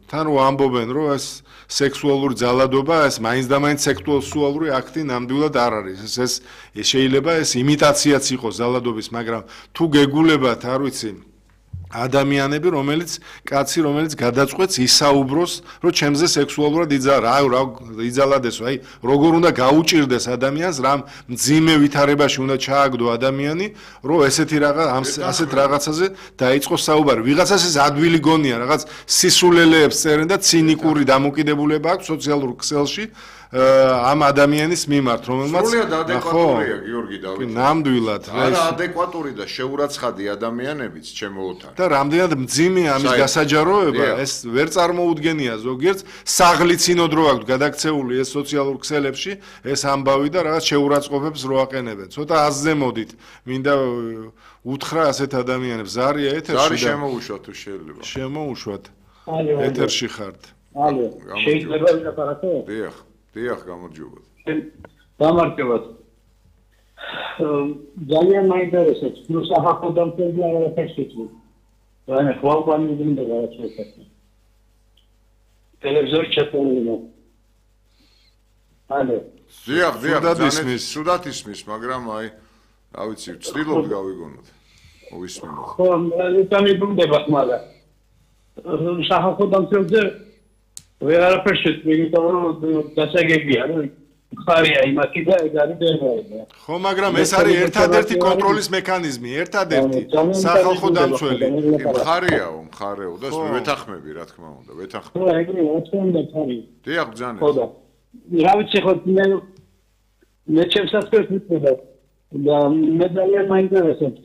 თან რო ამბობენ, რომ ეს სექსუალური ძალადობა, ეს მაინც და მაინც სექსუალური აქტი ნამდვილად არ არის. ეს შეიძლება ეს იმიტაციაც იყოს ძალადობის, მაგრამ თუ გეგულებათ, არ ვიცი, ადამიანები, რომელიც გადაწყვეტს ისაუბროს, რომ ჩემზე სექსუალურად იძალადესო, აი, როგორ უნდა გაუჭირდეს ადამიანს, რამ მძიმე ვითარებაში უნდა ჩააგდო ადამიანი, რომ ასეთ რაღაცაზე დაიწყოს საუბარი. ვიღაცას ეს ადვილი გონია, რაღაც სისულელეებს წერენ და ცინიკური დამოკიდებულება აქვს სოციალურ ქსელში. ამ ადამიანის მიმართ, რომელმაც სრულიად ადეკვატურია გიორგი დავითი. ნამდვილად. არა ადეკვატური და შეურაცხადი ადამიანებიც ჩემო ოთარ. და რამდენად მძიმეა ამის გასაჯაროება, ეს ვერ წარმოუდგენია ზოგიერთს, საღლიცინოდ რო აქვს გადაქცეული ეს სოციალურ ქსელებში, ეს ამბავი და რაღაც შეურაცხყოფებს რო აყენებენ. ცოტა აზზე მოდით, მინდა უთხრა ასეთ ადამიანებს, ზარია ეთერში და ზარი შემოუშვათ თუ შეიძლება. შემოუშვათ. ეთერში ხართ. ალო, შეიძლება ვილაპარაკო? დიახ, გამარჯობათ. გამარჯობათ. ძალიან მაინტერესებს, ნუ საფეხბურთო დამწერლი არაფერს იცი. რაიმე ხვალ მინდა რაღაცა. ტელევიზორი ჩატოლია. ალო. დიახ, სუდათ ისმის, მაგრამ აი, რა ვიცი, ვცდილობ გავიგონოთ. მოვისმინოთ. ხო, მე მომდება, მაგრამ საფეხბურთო დამწერლზე ვერაფერს იმიტომ რომ დასაგებია რომ ხარია იმაკი და ეგ არის დერმაია. ხო, მაგრამ ეს არის ერთადერთი კონტროლის მექანიზმი, ერთადერთი სახალხო დამცველი. მხარეო და ვეთანხმები, რა თქმა უნდა, ვეთანხმები. ხო, ეგრე რა თქმა უნდა ხარია. დიახ, ბძანეთ. ხო და რა ვიცი ხო მე ჩემსაც ვფიქრობ და მე ძალიან მაინტერესებს.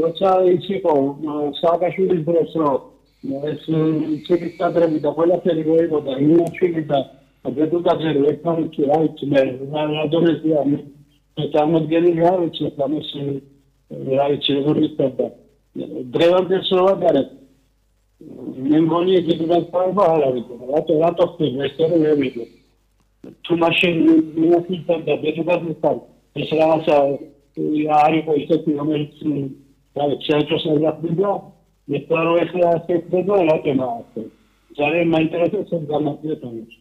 როცა იყო სააკაშვილის დროს რომ ეს ციგნის კადრები და ყველაფერი მოიგოდა იმაშვილი და დედუკაძე ერთმანეთში რა ვიცი მე რადონეზია მე წარმოდგენილი რა ვიცი ამას რა ვიცი როგორ ისწავლა დღევანდელ სოვადარეთ მე მგონი ეგ განსხვავება არ არის რატო ხდება ეს რომ მე ვიდე თუ მაშინ მიუხედავ და დედუკაძესთან ეს რაღაცა არ იყო ისეთი რომელიც რა ვიცი საერთოდ მე პარო ახლა ასეთდება რატომა ასე ძალიან მაინტერესებს ეს გამარტივებაც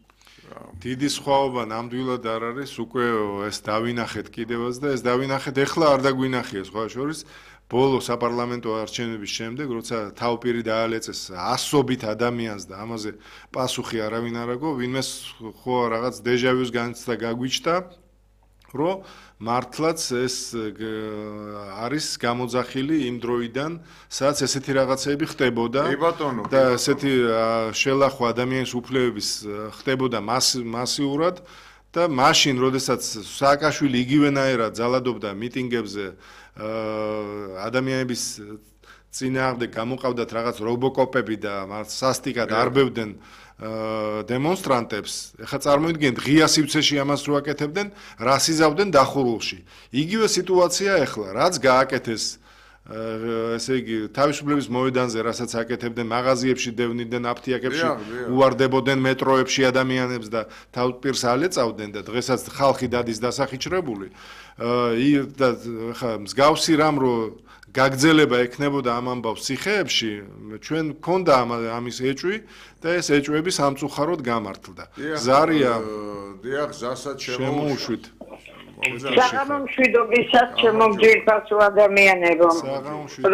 დიდი სხვაობა ნამდვილად არ არის უკვე ეს დავინახეთ კიდევაც და ეს დავინახეთ ეხლა არ დაგვინახია სხვა შორის ბოლო საპარლამენტო არჩევნების შემდეგ როცა თავპირი დაალეწეს ასობით ადამიანს და ამაზე პასუხი არავინ არ აგო ვინმეს ხო რაღაც დეჟავიუს განცდა გაგვიჩნდა რომ მართლაც ეს არის გამოძახილი იმ დროიდან, სადაც ესეთი რაღაცები ხდებოდა და ესეთი შელახვა ადამიანის უფლებების ხდებოდა მასიურად და მაშინ, როდესაც სააკაშვილი იგივენაირად ძალადობდა მიტინგებზე ადამიანების წინააღმდეგ გამოყავდათ რაღაც რობოკოპები და სასტიკად არბევდნენ დემონსტრანტებს, ეხლა წარმოიდგინეთ ღია სივრცეში ამას რო აკეთებდნენ, რას იზავდნენ დახურულში. იგივე სიტუაცია ეხლა, რაც გააკეთეს ესე იგი თავისუფლების მოედანზე, რასაც აკეთებდნენ მაღაზიებში, დევნიდნენ აფთიაქებში, უვარდებოდნენ მეტროებში ადამიანებს და თავპირს ალეწავდნენ და დღესაც ხალხი დადის დასახიჩრებული. და ეხლა მსგავსი რამ რო გაგრძელება ექნებოდა ამ ამბავს ციხეებში, ჩვენ გქონდა ამის ეჭვი და ეს ეჭვები სამწუხაროდ გამართლდა. ზარია დიახ, ზასაც შემოუშვით. საღამომშვიდობისას შემოგძირფასო ადამიანებო.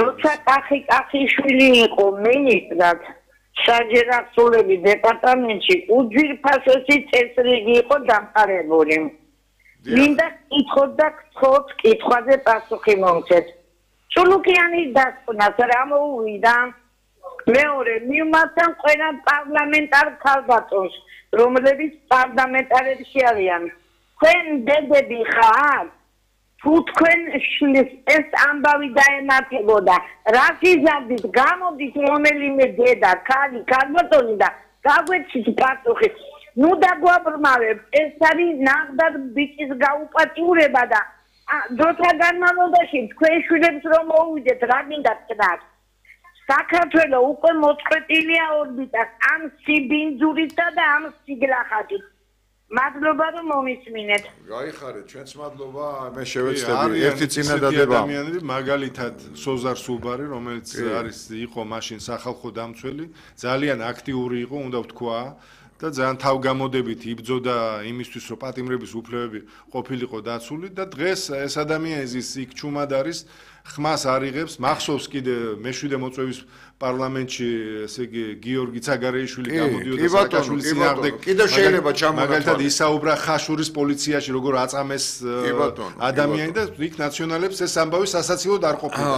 როცა კახიშვილი იყო მინისტრად საჯერახსულების დეპარტამენტში, უძვირფასესი წესრიგი იყო დამყარებული. მინდა კითხოთ და გთხოვთ კითხვაზე პასუხი მომცეთ. სულუკიანის დასკვნას რა მოუვიდა? მეორე, მივმართავ ყველა პარლამენტარ ქალბატონს, რომლებიც პარლამენტარებში არიან. თქვენ დედები ხარ? თუ თქვენ ეს ამბავი დაემართებოდა, რას იზარდით, გამოდით რომელიმე დედა, ქალბატონი და გაგვეცით პასუხი. ნუ დაგვაბრმავებთ, ეს არის ნახდარ ბიჭის გაუპატიურება და დროთა განმავლობაში თქვენ შვილებს რომ მოუვიდეთ რა მინდა თქვათ საქართველოს უკვე მოწყვეტილია ორბიტას ამ სიბინძურითა და ამ სიგლახათით მადლობა რომ მომისმინეთ. გაიხარეთ, ჩვენც მადლობა, მე შევეცდები ერთი წინადადება. ადამიანები, მაგალითად სოზარ სუბარი, რომელიც იყო მაშინ სახალხო დამცველი, ძალიან აქტიური იყო, უნდა ვთქვა. და ძალიან თავგამოდებით იბრძოდა იმისთვის, რომ პატიმრების უფლებები ყოფილიყო დაცული და დღეს ეს ადამიანი ის იქ ჩუმად არის, ხმას არიღებს, მახსოვს კიდე მეშვიდე მოწვევის პარლამენტში, ესე იგი გიორგი ცაგარეიშვილი გამოდიოდა სააკაშვილის წინააღმდეგ. კიდევ შეიძლება ჩამოგვიყვანოს. მაგალითად ისაუბრა ხაშურის პოლიციაში, როგორ აწამეს ადამიანი და იქ ნაციონალებს ეს ამბავი სასაცილოდ არ ყოფილა.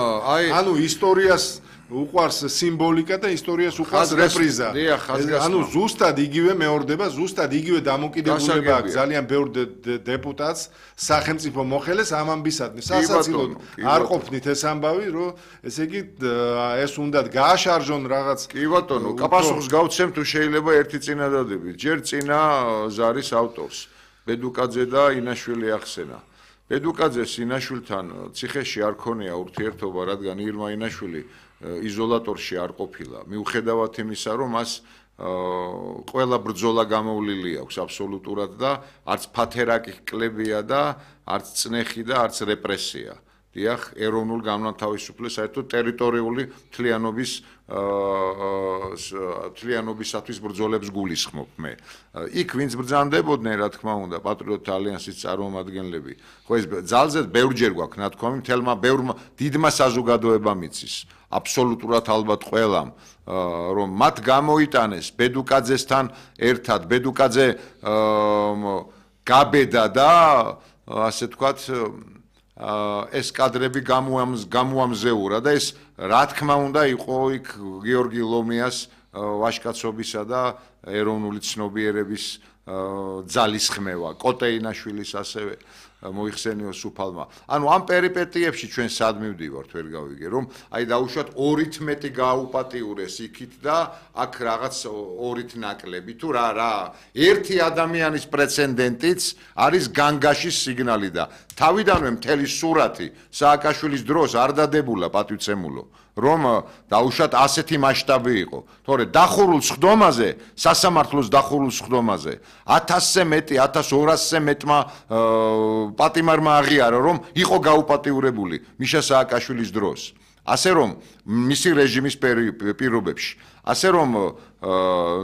ანუ ისტორიას უყვარს სიმბოლიკა და ისტორიას უყვარს რეპრიზა. ანუ ზუსტად იგივე მეორდება, ზუსტად იგივე დამოკიდებულება აქვს ძალიან ბევრ დეპუტატს, სახელმწიფო მოხელეს ამ ამბისადმი. სასაცილოდ არ ყოფნით ეს ამბავი, რომ ესე იგი ეს უნდა გააშარჟონ რაღაც. კი ბატონო, პასუხს გავცემ თუ შეიძლება ერთი წინადადებით. ჯერ წინა ზარის ავტორს, ბედუკაძე და ინაშვილი ახსენა. ბედუკაძეს ინაშვილთან ციხეში არ ქონია ურთიერთობა, რადგან ირმა ინაშვილი იზოლატორში არ ყოფილა. მიუხედავად იმისა, რომ მას ყველა ბრძოლა გამოვლილი აქვს აბსოლუტურად და არც ფათერაკი კლებია და არც წნეხი და არც რეპრესია. დიახ, ეროვნულ განმათავისუფლებას საერთოდ ტერიტორიული თლიანობისათვის ბრძოლებს გულისხმობ მე. იქ ვინც ბრძანდებოდნენ, რა თქმა უნდა, პატრიოტთა ალიანსის წარმომადგენლები. ხო ეს ძალზედ ბევრჯერ გვაქვს ნათქვამი, მთელმა ბევრმა დიდმა საზოგადოებამ იცის. აბსოლუტურად ალბათ ყველამ, რომ მათ გამოიტანეს ბედუკაძესთან ერთად, ბედუკაძე გაბედა და ასე თქვათ ეს კადრები გამოამზეურა და ეს რა თქმა უნდა იყო იქ გიორგი ლომიას ვაჟკაცობისა და ეროვნული ცნობიერების ძალისხმევა, კოტეინაშვილის ასევე მოიხსენიოს უფალმა. ანუ ამ პერიპეტიებში ჩვენ სად მივდივართ, ვერ გავიგე, რომ აი დაუშვათ 2-ით მეტი გააუპატიურეს იქით და აქ რაღაც 2-ით ნაკლები თუ რა ერთი ადამიანის პრეცედენტიც არის განგაშის სიგნალი და თავიდანვე მთელი სურათი სააკაშვილის დროს არ დადებულა პატივცემულო. რომ დაუშვათ ასეთი მასშტაბი იყო. თორე დახურულ სხდომაზე, სასამართლოს დახურულ სხდომაზე 1000-ზე მეტი, 1200-ზე მეტმა პატიმარმა აღიარა, რომ იყო გაუპატიურებული მიშა სააკაშვილის დროს. ასე რომ მისი რეჟიმის პირობებში, ასე რომ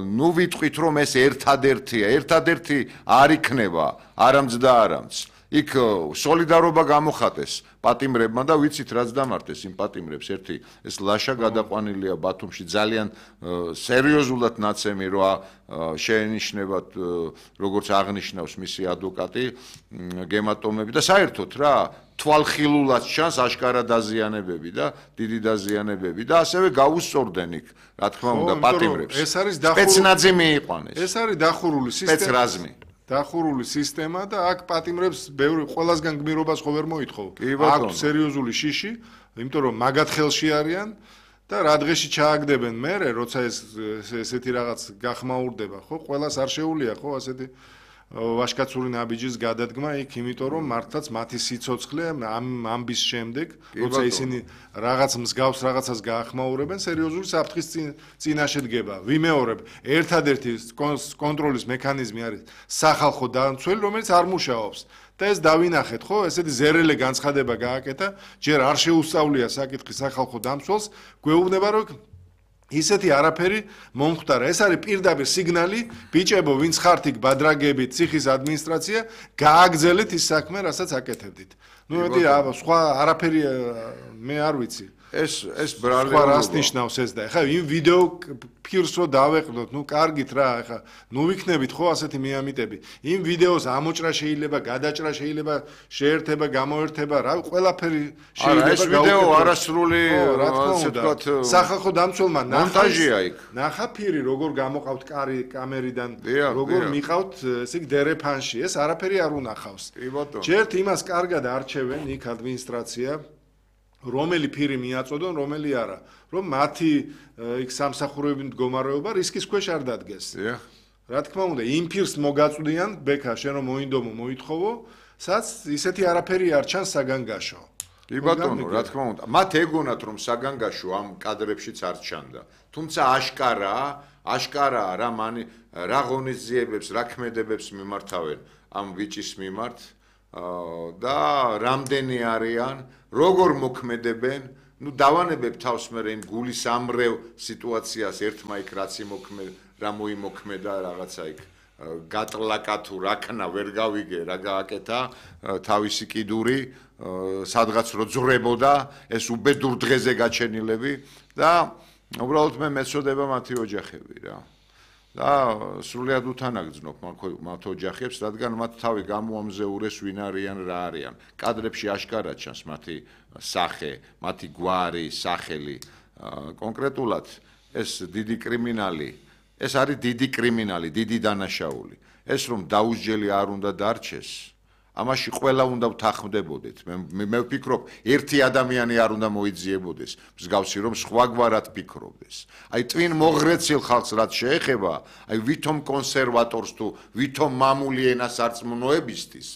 ნუ ვიტყვით, რომ ეს ერთადერთია, ერთადერთი არ იქნება, არამც და არამც. იქ სოლიდარობა გამოხატეს პატიმრებმა და ვიცით რაც დამართეს იმ პატიმრებს ერთი ეს ლაშა გადაყვანილია ბათუმში ძალიან სერიოზულად ნაცემი რა შეენიშნებათ როგორც აღნიშნავს მისი ადვოკატი გემატომები და საერთოდ რა თვალხილულად ჩანს აშკარა დაზიანებები და დიდი დაზიანებები და ასევე გაუსწორდნენ იქ რა თქმა უნდა პატიმრებს ეს არის სპეცნაძე მიიყვანეს ეს არის დახურული სპეცრაზმი დახურული სისტემა და აქ პატიმრებს ბევრი ყველასგან გმირობას ხო ვერ მოითხოვ. აქ სერიოზული შიში, იმიტომ რომ მაგათ ხელში არიან და რა დღეში ჩააგდებენ მერე, როცა ესეთი რაღაც გახმაურდება, ხო? ყველას არ შეუულია, ხო, ასეთი ვაშკაცური ნაბიჯის გადადგმა იქ, იმიტომ რომ მართლაც მათი სიცოცხლე ამ ამბის შემდეგ, როცა ისინი რაღაც მსგავს რაღაცას გაახმაურებენ, სერიოზული საფრთხის წინაშე დგება. ვიმეორებ, ერთადერთი კონტროლის მექანიზმი არის სახალხო დამცველი, რომელიც არ მუშაობს. და ეს დავინახეთ, ხო? ესეთი ზერელე განცხადება გააკეთა, ჯერ არ შეუსწავლია საკითხი სახალხო დამცველს, გვეუბნება რომ ისეთი არაფერი მომხდარა. ეს არის პირდაპირ სიგნალი, ბიჭებო, ვინც ხართ იქ ბადრაგებით, ციხის ადმინისტრაცია, გააგზელეთ ის საქმე, რასაც აკეთებდით. ნუ მეტი სხვა არაფერი მე არ ვიცი. ეს ბრალი სხვა რას ნიშნავს ეს და ეხლა იმ ვიდეო ფირს რო დავეყნოთ, ნუ კარგით რა, ეხლა ნუ ვიქნებით ხო ასეთი მიამიტები. იმ ვიდეოს ამოჭრა შეიძლება, გადაჭრა შეიძლება, შეერთება, გამოერთება, რა ყველაფერი შეიძლება. ეს ვიდეო არასრული, ასე ვთქვათ, სახალხო დამცველმა მონტაჟია იქ. ნახა ფირი, როგორ გამოყავთ კამერიდან, როგორ მიყავთ, ესე იგი დერეფანში. ეს არაფერი არ უნახავს. ჯერთ იმას კარგად არჩევენ იქ ადმინისტრაცია რომელი ფირი მიაწოდონ, რომელი არა, რომ მათი იქ სამსახურებრივი მდგომარეობა რისკის ქვეშ არ დადგეს. რა თქმა უნდა, იმ ფირს მოგაწვდიან, ბექა, შენ რომ მოინდომო, მოითხოვო, სადაც ისეთი არაფერი არ ჩანს საგანგაშო. კი ბატონო, რა თქმა უნდა. მათ ეგონათ რომ საგანგაშო ამ კადრებშიც არ ჩანდა. თუმცა აშკარაა რა ღონისძიებებს, რა ქმედებებს მიმართავენ ამ ვიჭის მიმართ და რამდენი არიან, როგორ მოქმედებენ, დავანებებ თავს მე იმ გულის ამრევ სიტუაციას ერთმა იქ რა მოიმოქმედა რაღაცა იქ გატლაკა თუ რაკნა ვერ გავიგე რა გააკეთა თავისი კიდური სადღაც რო ძრებოდა ეს უბედურ დღეზე გაჩენილები და უბრალოდ მე მეწოდება მათი ოჯახები რა და სრულიად უთანაგრძნობ მათ ოჯახებს რადგან მათ თავი გამოამზეურეს ვინ არიან რა არიან კადრებში აშკარად ჩანს მათი სახე მათი გვარი სახელი კონკრეტულად ეს დიდი კრიმინალი ეს არის დიდი კრიმინალი, დიდი დანაშაული. ეს რომ დაუსჯელი არ უნდა დარჩეს, ამაში ყველა უნდა ვთანხმდებოდეთ. მე ვფიქრობ, ერთი ადამიანი არ უნდა მოიძიებოდეს, მსგავსი რომ სხვაგვარად ფიქრობდეს. აი ტვინ მოღრეცილ ხალხს რაც შეეხება, აი ვითომ კონსერვატორს თუ ვითომ მამული ენასარწმუნოებისთვის,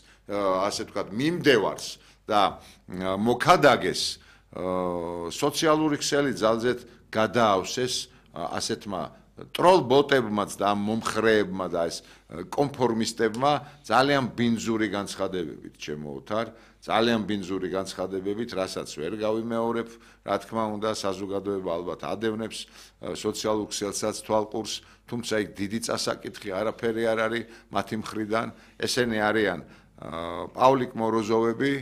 ასე ვთქვათ, მიმდევარს და მოქადაგეს სოციალური ქსელი ძალზედ გადაავსეს ასეთმა ტროლ ბოტებმაც და მომხრეებმა და ეს კონფორმისტებმა ძალიან ბინძური განცხადებებით ჩემოუთარ ძალიან ბინძური განცხადებებით რასაც ვერ გავიმეორებ რა თქმა უნდა საზოგადოება ალბათ ადევნებს სოციალურ ქსელსაც თვალყურს თუმცა იქ დიდი წასაკითხი არაფერი არ არის მათი მხრიდან ესენი არიან პავლიკ მოროზოვები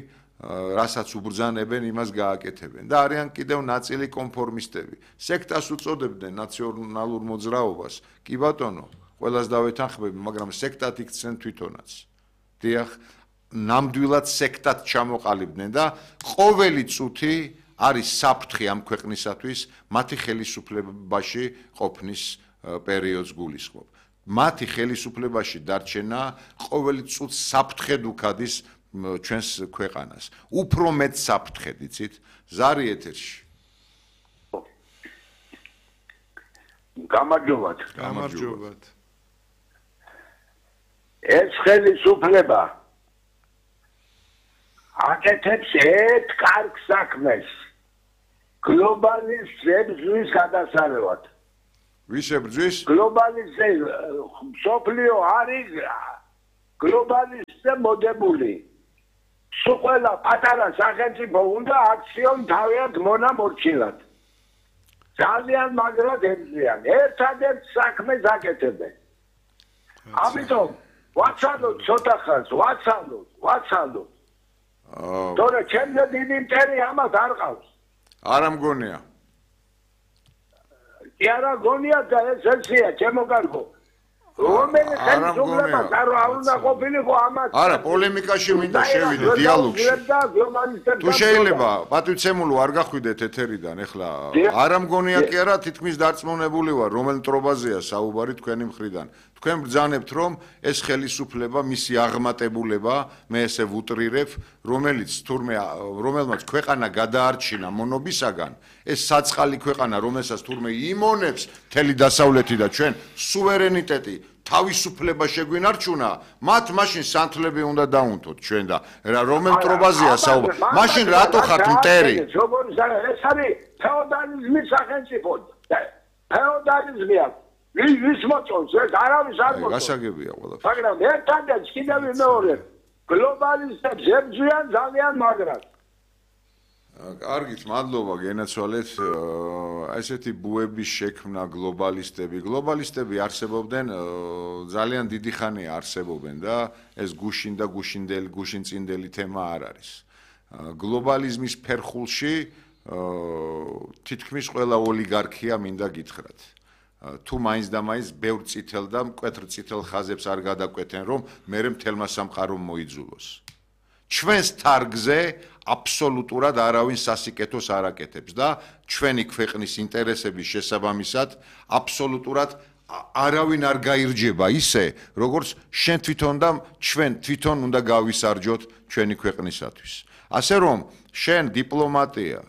რასაც უბრძანებენ იმას გააკეთებენ და არიან კიდევ ნაწილი კონფორმისტები სექტას უწოდებდნენ ნაციონალურ მოძრაობას კი ბატონო ყველას დავეთანხმები მაგრამ სექტად იქცნენ თვითონაც დიახ ნამდვილად სექტად ჩამოყალიბდნენ და ყოველი წუთი არის საფრთხე ამ ქვეყნისათვის მათი ხელისუფლებაში ყოფნის პერიოდს გულისხმობ მათი ხელისუფლებაში დარჩენა ყოველი წუთს საფრთხედ უქადის ჩვენს ქვეყანას უფრო მეტ საფრთხედ იცით ზარი ეთერში გამარჯობათ ეს ხელისუფლება აკეთებს ერთ კარგ საქმეს გლობალიზმის გადასარევად ვის ებრძვის გლობალიზმი სოფლიო არის გლობალიზმზე მოდებული სულ პატარა სახელმწიფო უნდა აქციონ თავიანთ მონამორჩილად ძალიან მაგრად ებრძვიან ერთადერთ საქმეს აკეთებენ ამიტომ ვაცალოთ ცოტა ხანს ვაცალოთ თორე ჩემზე დიდი მტერი ამას არ ყავს არა მგონია კი არა გონია და ეს ესია ჩემო კარგო რომელი ხელისუფლება არ უნდა ყოფილიყო ამას არა პოლემიკაში მინდა შევიდე დიალოგში თუ შეიძლება პატივცემულო არ გახვიდეთ ეთერიდან ეხლა არა მგონია კი არა თითქმის დარწმუნებული ვარ რომელ მტრობაზეა საუბარი თქვენი მხრიდან თქვენ ბრძანებთ რომ ეს ხელისუფლება მისი აღმატებულება მე ესე ვუტრირებ რომელიც თურმე რომელმაც ქვეყანა გადაარჩინა მონობისაგან ეს საწყალი ქვეყანა რომელსაც თურმე იმონებს მთელი დასავლეთი და ჩვენ სუვერენიტეტი თავისუფლება შეგვინარჩუნა მათ მაშინ სანთლები უნდა დაუნთოთ ჩვენ და რომელ მტრობაზეა საუბარი მაშინ რატო ხართ მტერი ეს არის ფეოდალიზმის სახელმწიფო ფეოდალიზმია ვის მოწონს ეს არავის არ მოწონს გასაგებია ყველაფერი მაგრამ ერთადერთ კიდევ მეორე გლობალისტებს ებრძვიან ძალიან მაგრად კარგით მადლობა გენაცვალეთ ესეთი ბუების შექმნა გლობალისტები არსებობდნენ ძალიან დიდი ხანია არსებობენ და ეს გუშინ და გუშინწინდელი თემა არ არის გლობალიზმის ფერხულში თითქმის ყველა ოლიგარქია მინდა გითხრათ თუ მაინც და მაინც ბევრ წითელ და მკვეთრ წითელ ხაზებს არ გადაკვეთენ რომ მერე მთელმა სამყარომ მოიძულოს ჩვენს თარგზე აბსოლუტურად არავინ სასიკეთოს არ აკეთებს და ჩვენი ქვეყნის ინტერესების შესაბამისად აბსოლუტურად არავინ არ გაირჯება ისე როგორც შენ თვითონ და ჩვენ თვითონ უნდა გავისარჯოთ ჩვენი ქვეყნისათვის ასე რომ შენ დიპლომატია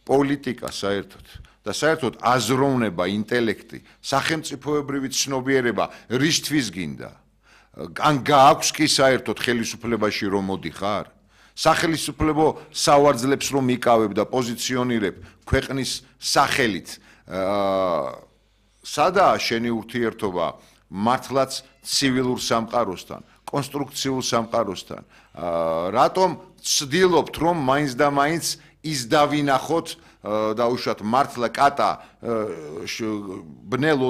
პოლიტიკა საერთოდ და საერთოდ აზროვნება ინტელექტი სახელმწიფოებრივი ცნობიერება რისთვის გინდა ან გააქვს კი საერთოდ ხელისუფლებაში რომ მოდიხარ სახელმწიფო სავარძლებს რომ იკავებ და პოზიციონირებ ქვეყნის სახელით სადაა შენი ურთიერთობა მართლაც civilურ სამყაროსთან კონსტრუქციულ სამყაროსთან რატომ ცდილობთ რომ მაინც და მაინც ის დავინახოთ დაუშვათ მართლა კატა ბნელ